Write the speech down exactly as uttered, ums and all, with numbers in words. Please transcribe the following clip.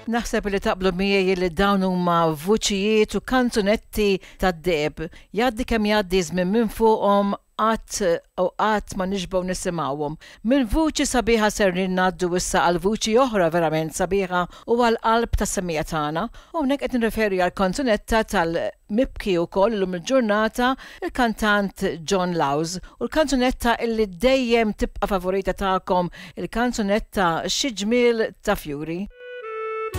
Naħseb li taqblu miegħi li dawn huma vuċijiet u kanzunetti tad-deheb. Jgħaddi kemm jgħaddi żmien minn fuqhom qatt u qatt ma nixbgħu nisimgħuhom. Minn vuċi sabiħa ser ngħaddu issa għal vuċi oħra verament sabiħa u għal qalb tas-semmiegħa tagħna. U hawnhekk qed nirreferi għal kanzunetta tal-mibki wkoll illum il-ġurnata il-kantant John Laus u l-kanzunetta illi dejjem tibqa' favorita tagħkom il-kanzunetta Xi ġmiel ta' fjuri.